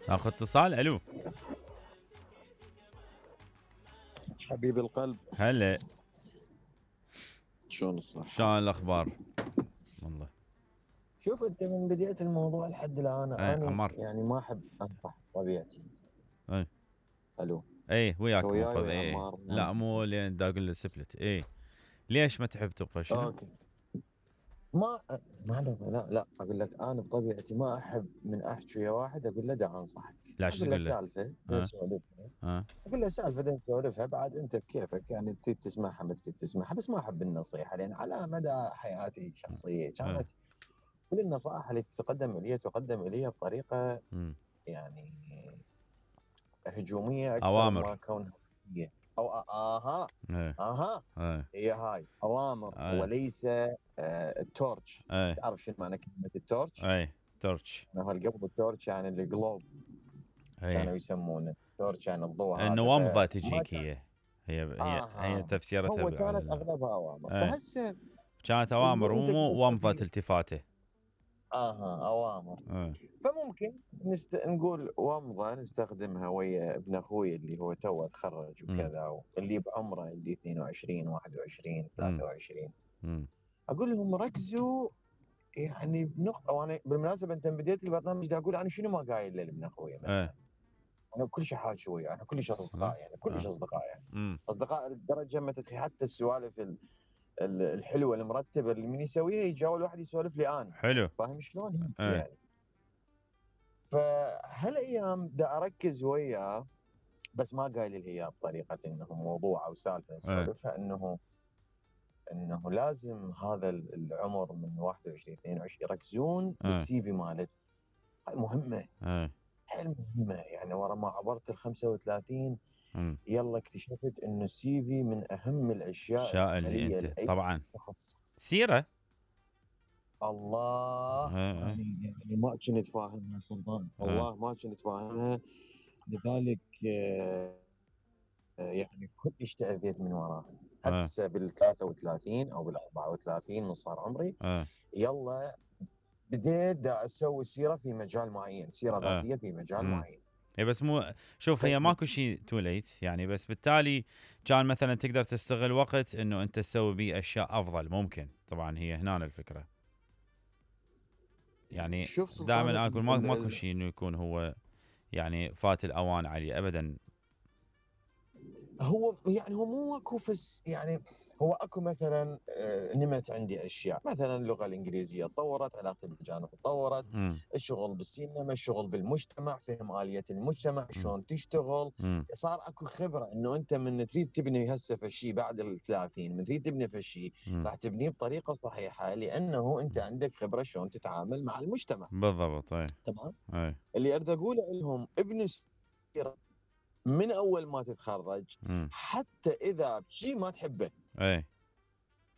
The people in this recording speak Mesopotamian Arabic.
ناخذ اتصال. الو حبيب القلب، هلا، شلون الصحة؟ شلون الاخبار؟ والله شوف انت من بداية الموضوع لحد الان اي انا عمر. يعني ما احب انصح طبيعتي. اي الو، اي انت وياك وياي ماخذ. ويا اي عمار؟ لا مو لين دا اقول له سفلت. اي ليش ما تحب تبقى شنو؟ اوكي. ما ما لا اقول لك انا بطبيعتي ما احب من احكي ويا واحد اقول له دا انصحك. لا شو اقول له تقول له؟ سالفة دا ها نسولفها. ها اقول له سالفة دا نسولفها، بعد انت بكيفك يعني تريد تسمعها ما تريد تسمعها، بس ما احب النصيحة لان على مدى حياتي الشخصية ها كانت كل النصائح اللي تقدم الي بطريقة يعني هجوميه اكثر ما اوامر. كونها هي او اها اي اها اي هي هاي اوامر اي وليس التورش. اي تعرف شنو معنى كلمه التورش؟ اي تورتش. قبل التورش يعني الجلوب اي كانوا يسمونه التورش يعني الضوء هذا، النوامضة فما تجيك. كان. هي اها تفسيرتها هو كانت اغلبها اوامر، اي فهسه كانت اوامر مجبور انت ومو ومضة تطبق. التفاته. اها اوامر. اي فممكن نقول ومضة نستخدمها ويا ابن اخوي اللي هو توه تخرج وكذا، واللي بعمره اللي 22 21 23. اقول لهم ركزوا يعني بنقطه. وانا بالمناسبه انت من بدايه البرنامج دا اقول انا شنو ما قايل لابن اخوي مثلا. انا كل شيء حاكي وياه، انا كلش اصدقاء يعني كلش اصدقاء يعني اصدقاء لدرجه ما تتخيل. حتى السوالف الحلوه المرتبه اللي من يسويها يجي اول واحد يسولف لي انا. حلو. فاهم شلون يعني؟ فهالايام دا اركز وياه، بس ما قايل الهياب بطريقه انه موضوع او سالفه نسولفها، انه لازم هذا العمر من 21 22 يركزون بالسي في مالت. مهمه، حيل مهمه يعني. ورا ما عبرت ال 35 يلا اكتشفت انه السي في من اهم الاشياء اللي العمليه انت لاي طبعا شخص. سيره. الله يعني ما كنت فاهمها سلطان، والله ما كنت فاهمها. لذلك يعني كلش تاذيت من وراها. هسه بال 33 او بال 34 من صار عمري يلا بديت دا اسوي سيره في مجال معين، سيره ذاتيه في مجال معين. اي بس مو شوف هي ماكو شيء تو ليت يعني، بس بالتالي كان مثلا تقدر تستغل وقت انه انت تسوي بيه اشياء افضل. ممكن طبعا هي هنا الفكره يعني. دائما اقول ماكو شيء انه يكون هو يعني فات الاوان عليه ابدا. هو يعني هو مو اكو يعني هو اكو مثلا نمت عندي اشياء، مثلا اللغه الانجليزيه تطورت، علاقتي بالاجانب تطورت، الشغل بالسينما، الشغل بالمجتمع، فهم اليه المجتمع شلون تشتغل. صار اكو خبره انه انت من تريد تبني هسه فشي بعد ال 30 من تريد تبني فشي راح تبنيه بطريقه صحيحه، لانه انت عندك خبره شلون تتعامل مع المجتمع. بالضبط. تمام. اللي اريد اقوله لهم ابن من اول ما تتخرج، حتى اذا شيء ما تحبه